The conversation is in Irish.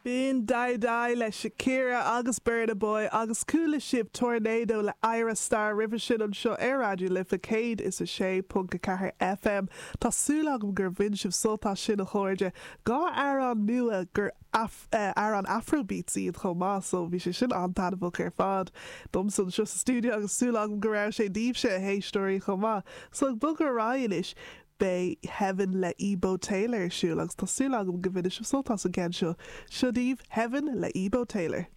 B'in Dai Dai le Shakira agus Burna Boy agus chuala sibh Tornado le Ayra Starr roimhe sin anseo ar Raidió Life 106.4 FM. Tá súil agam gur bhain sibh sult as sin a chairde. 2 amhrán nua gur amhráin Afrobeats iad chomh maith so bhí sé sin an-taitneamhach ar fad domsa anseo sa stiúideo agus súil agam go raibh sé daoibhse a héisteoirí chomh maith. So ag bogadh ar aghaidh anois Beidh Heaven le Ebo Taylor ar siúl agus tá súil agam go mbainfidh sibh sult as an gceann seo. Seo daoibh Heaven le Ebo Taylor.